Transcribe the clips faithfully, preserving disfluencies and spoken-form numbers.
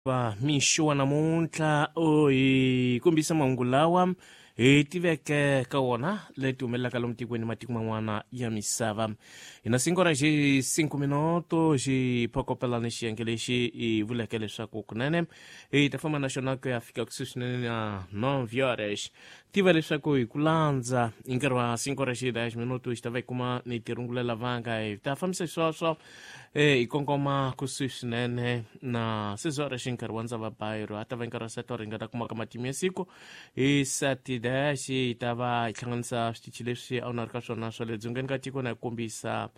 Va mixo wa namuntlha u hi kombisa mahungu lawa hi tiveke ka wona leti humelelaka lomu tikweni matiko man'wana ya misava. Hi na cinco horas hi cinco minuto xi phokopelani xiyenge lexi hi vuleke leswaku kunene hi ta famba na xona ku ya fika kusuhi swinene na nove horas. Tiva leswaku hi ku landza hi nkarhi wa cinco horas hi dez minuto xi ta va hi kuma ni tirungulela vanga hi ta fambisa sweswo hi kongoma kusuhi swinene na seis horas hi nkarhi wa ndzava bayiro a ta va hi nkarhi wa sete horas hi nga ta kumaka matimu ya siku hi sete dez hi ta va hi hlanganisa switichi leswi a wu na ri ka swona swa le dzongeni ka tiko na hi kombisa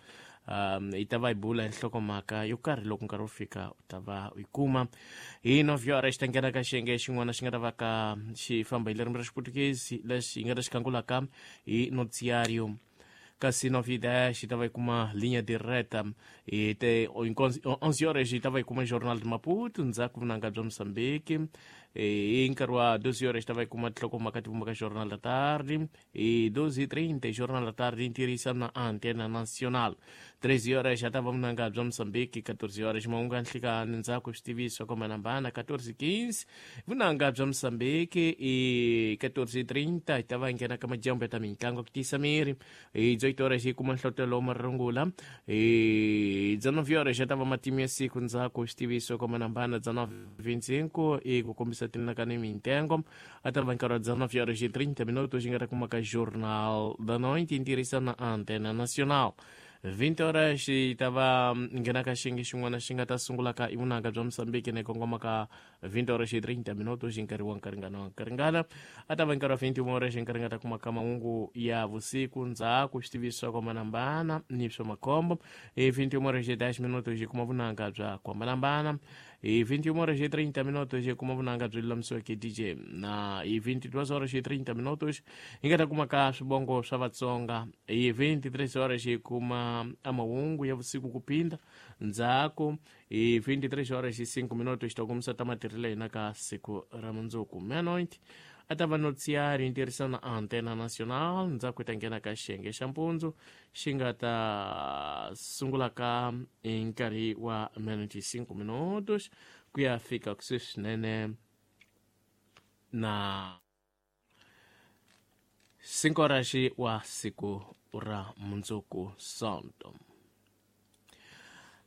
um hi ta va hi bula hi nhlokomhaka yo karhi loko nkarhi wu fika u ta va u yi kuma. Hi nove horas xi ta nghena ka xiyenge xin'wana xi nga ta va ka xi famba hi ririmi ra Xiputukezi lexi hi nga ta xi khangulaka hi noticiário. Kasi nove dez xi ta va yi kuma linha direta hi te onze horas hi ta va yi kuma Jornal de Maputo ndzhaku vunanga bya Mozambique. Hi nkarhi wa doze horas xi ta va yi kuma tinhlokomhaka ti vumbaka Jornal da Tarde. Hi doze e trinta Jornal da Tarde ntirhisa na Antena Nacional. Treze horas xa ta va vunanga bya Mozambique. Quatorze horas mahungu ya nhlikani ndzhaku switiviso ku hambanahambana. Quatorze e quinze vunanga bya Mozambique. Hi quatorze e trinta hi ta va hi nghena ka madyambu ya ta mitlangu ku tiyisa miri. Hi dezoito horas hi kuma nhlotelo wa marungula. Hi dezenove horas xa ta va matimu ya siku ndzhaku switiviso ku hambanahambana. Dezenove vinte e cinco hi ku kombisa tinaka ni mintengo a ta va nkarhi wa dezenove horas e trinta minutos xi nga ta kuma ka Jornal da Noite ntirhisa na Antena Nacional. Vinte horas hi ta va nghena ka xiyenge xin'wana xi nga ta sungula ka i vunanga bya Mozambique na kongoma ka vinte horas e trinta minutos hi nkarhi wa nkaringana wa nkaringana. A ta va nkarhi wa vinte e uma horas hi nkarhi nga ta kuma ka mahungu ya vusiku ndzhaku switiviso swa ku hambanahambana ni swa makhombo. Hi vinte e uma horas e dez minutos hi kuma vunanga bya ku hambanahambana. Hi vinte e uma horas e trinta minutos hi kuma vunanga byi lulamisiweke D J. Na hi vinte e duas horas e trinta minutos hi nga ta kuma ka swivongo swa Vatsonga. Hi vinte e três horas hi kuma a mahungu ya vusiku ku phinda ndzhaku. Hi vinte e três horas e cinco minutos ta kumisa ta matirhelo hina ka siku ra mundzuku meia-noite a ta va noticiário ntirhisa na Antena Nacional. Ndzhaku hi ta nghena ka xiyenge xa mpundzu xi nga ta sungula ka hi nkarhi wa meia-noite e cinco minutos ku ya fika kusuhi swinene na cinco horas wa siku ra mundzuku Sonto.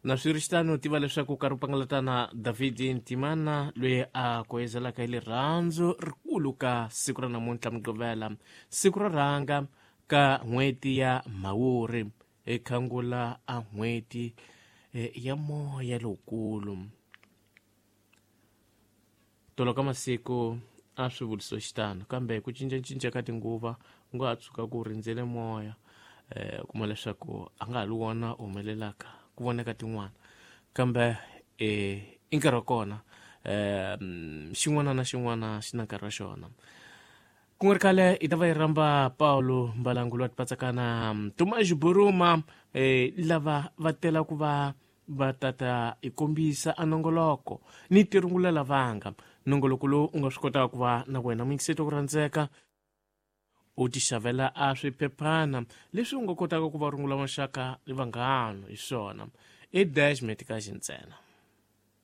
Na swi tiva leswaku nkarhi wu pangalatana David Ntimana loyi a koyezelaka hi rirhandzu rikulu ka siku ra namuntlha Mugqivela, siku ro rhanga ka n'hweti ya Mhawuri, ekhangula a n'hweti ya moya lowukulu. Tolo ka masiku a swi vuriso xitano, kambe ku cincacinca ka tinguva u nga ha tshuka ku rindzele moya eh kuma leswaku a nga ha li wona u humelelaka ku voneka tin'wana, kambe eh i nkarhi wa kona eh xin'wana na xin'wana xi na nkarhi wa xona. Ku nga ri khale hi ta va hi rhamba Paulo Mbalangu loyi a tipatsakana Tomás Buruma eh lava va tela ku va va tata hi kombisa a nongoloko ni tirungulela vanga. Nongoloko lowu u nga swi kotaka ku va na wena muyingiseti ku rhandzeka u ti xavela a swiphephana leswi u nga kotaka ku va rungula maxaka ni vanghana hi swona i dez meticage ntsena.